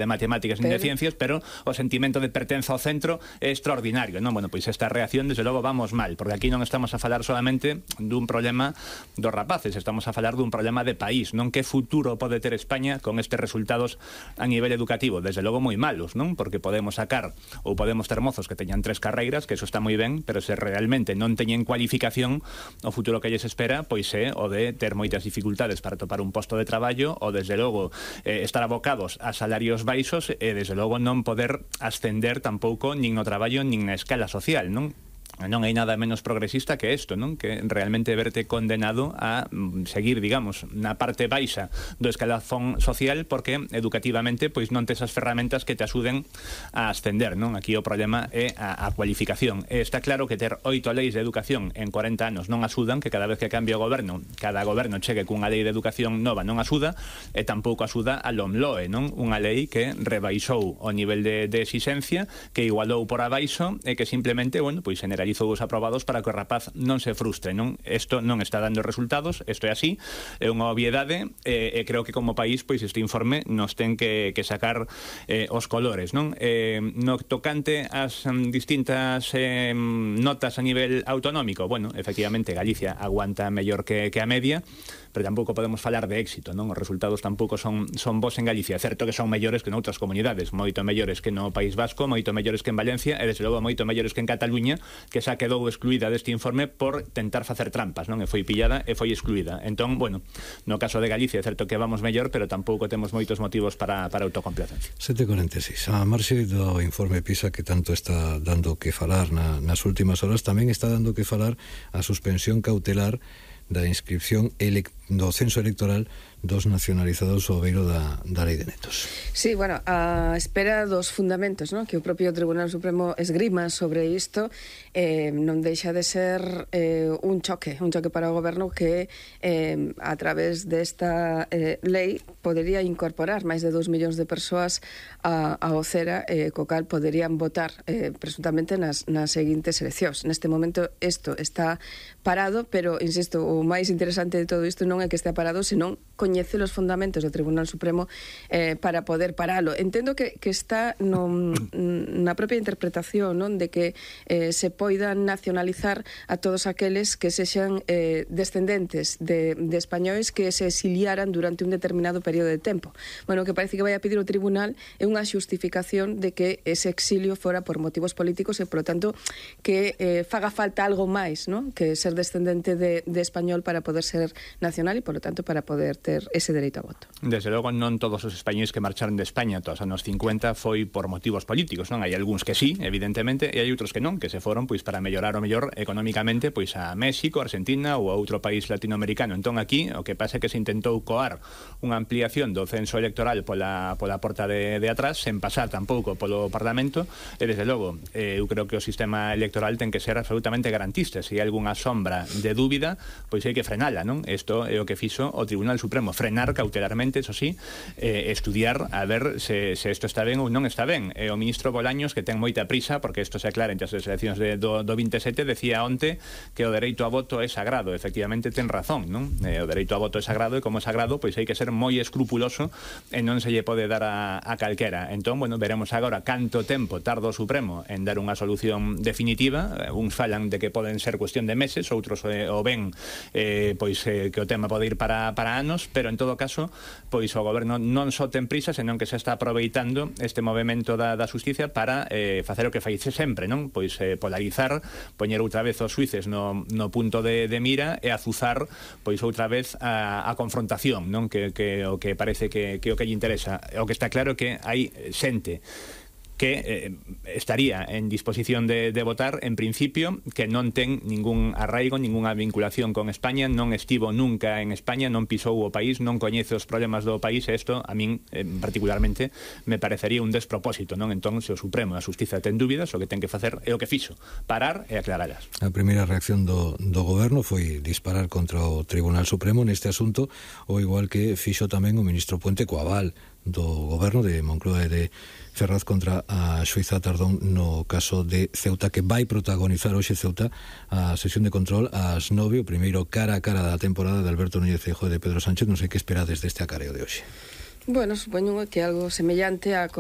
de matemáticas nin de ciencias, pero o sentimento de pertenza ao centro é extraordinario, non? Bueno, pois esta reacción, desde logo, vamos mal, porque aquí non estamos a falar solamente dun problema dos rapaces, estamos a falar dun problema de país, non? Que futuro pode ter España con estes resultados a nivel educativo? Desde logo moi malos, non? Porque podemos sacar ou podemos ter mozos que teñan 3 carreiras, que eso está moi ben, pero se realmente non teñen cualificación, o futuro que lles espera pois é o de ter moitas dificultades para topar un posto de traballo, ou desde logo estar abocados a salarios baixos e desde logo non poder ascender tampouco nin no traballo nin na escala social, non? Non hai nada menos progresista que isto, non? Que realmente verte condenado a seguir, digamos, na parte baixa do escalafón social porque educativamente pois non tes as ferramentas que te axuden a ascender, non? Aquí o problema é a cualificación. E está claro que ter 8 leis de educación en 40 anos non axudan, que cada vez que cambia o goberno, cada goberno chegue cunha lei de educación nova non axuda, e tampouco axuda a LOMLOE, non? Unha lei que rebaixou o nivel de exixencia, que igualou por abaixo e que simplemente, bueno, pois generalizou os aprobados para que o rapaz non se frustre, non? Isto non está dando resultados, isto é así, é unha obviedade, e creo que como país, pois este informe nos ten que sacar os colores, non? No tocante ás distintas notas a nivel autonómico, bueno, efectivamente Galicia aguanta mellor que a media, pero tampouco podemos falar de éxito, non? Os resultados tampouco son bons en Galicia. É certo que son mellores que noutras comunidades, moito mellores que no País Vasco, moito mellores que en Valencia, e desde logo moito mellores que en Cataluña, que xa quedou excluída deste informe por tentar facer trampas, non? E foi pillada e foi excluída. Entón, bueno, no caso de Galicia é certo que vamos mellor, pero tampouco temos moitos motivos para autocomplacencia. 7:46. A marxe do informe PISA que tanto está dando que falar nas últimas horas, tamén está dando que falar a suspensión cautelar da inscripción do censo electoral dos nacionalizados ao beiro da lei de netos. Sí, bueno, a espera dos fundamentos, non? Que o propio Tribunal Supremo esgrima sobre isto, non deixa de ser un choque para o goberno que a través desta lei podería incorporar máis de 2 millóns de persoas ao CERA, co cal poderían votar presuntamente nas seguintes eleccións. Neste momento isto está parado, pero, insisto, o máis interesante de todo isto non é que estea parado, senón coñece os fundamentos do Tribunal Supremo para poder paralo. Entendo que está na propia interpretación, non? De que se poidan nacionalizar a todos aqueles que sexan descendentes de españois que se exiliaran durante un determinado período de tempo. Bueno, o que parece que vai a pedir o Tribunal é unha xustificación de que ese exilio fora por motivos políticos e, por lo tanto, que faga falta algo máis, non? Que ser descendente de español para poder ser nacional e, por lo tanto, para poder ter ese dereito a voto. Desde logo, non todos os españois que marcharon de España todos os anos 50 foi por motivos políticos, non? Hai algúns que sí, evidentemente, e hai outros que non, que se foron pois para mellorar o mellor economicamente pois a México, Argentina ou a outro país latinoamericano. Entón aquí o que pasa é que se intentou coar unha ampliación do censo electoral pola porta de atrás, sen pasar tampouco polo Parlamento, e desde logo eu creo que o sistema electoral ten que ser absolutamente garantista. Se hai algunha sombra de dúbida, pois hai que frenala, non? Isto é o que fixo o Tribunal Supremo, frenar cautelarmente, eso sí, estudiar a ver se isto está ben ou non está ben. O ministro Bolaños, que ten moita prisa porque isto se aclara entre as eleccións do 27, decía onte que o dereito a voto é sagrado. Efectivamente ten razón, non? O dereito a voto é sagrado, e como sagrado pois hai que ser moi escrupuloso e non se lle pode dar a calquera. Entón, bueno, veremos agora canto tempo tarda o Supremo en dar unha solución definitiva. Uns falan de que poden ser cuestión de meses, outros o ven pois que o tema pode ir para anos, pero en todo caso pois o goberno non só ten prisa, senón que se está aproveitando este movimento da xusticia para facer o que faixe sempre, non? Pois polarizar, poñer outra vez os xuíces no punto de mira e azuzar pois outra vez a confrontación, non? Que o que parece que o que lle interesa. O que está claro que hai xente que estaría en disposición de votar, en principio, que non ten ningún arraigo, ningunha vinculación con España, non estivo nunca en España, non pisou o país, non coñece os problemas do país, e isto, a min, particularmente, me parecería un despropósito, non? Entón, se o Supremo e a Xustiza ten dúbidas, o que ten que facer é o que fixo, parar e aclaralas. A primeira reacción do goberno foi disparar contra o Tribunal Supremo neste asunto, o igual que fixo tamén o ministro Puente co aval do goberno de Moncloa e de Ferraz contra a xuíza Tardón no caso de Ceuta, que vai protagonizar hoxe Ceuta a sesión de control ás 9, o primeiro cara a cara da temporada de Alberto Núñez Feijóo e de Pedro Sánchez. Non sei que esperades deste acareo de hoxe. Bueno, supoño que algo semellante a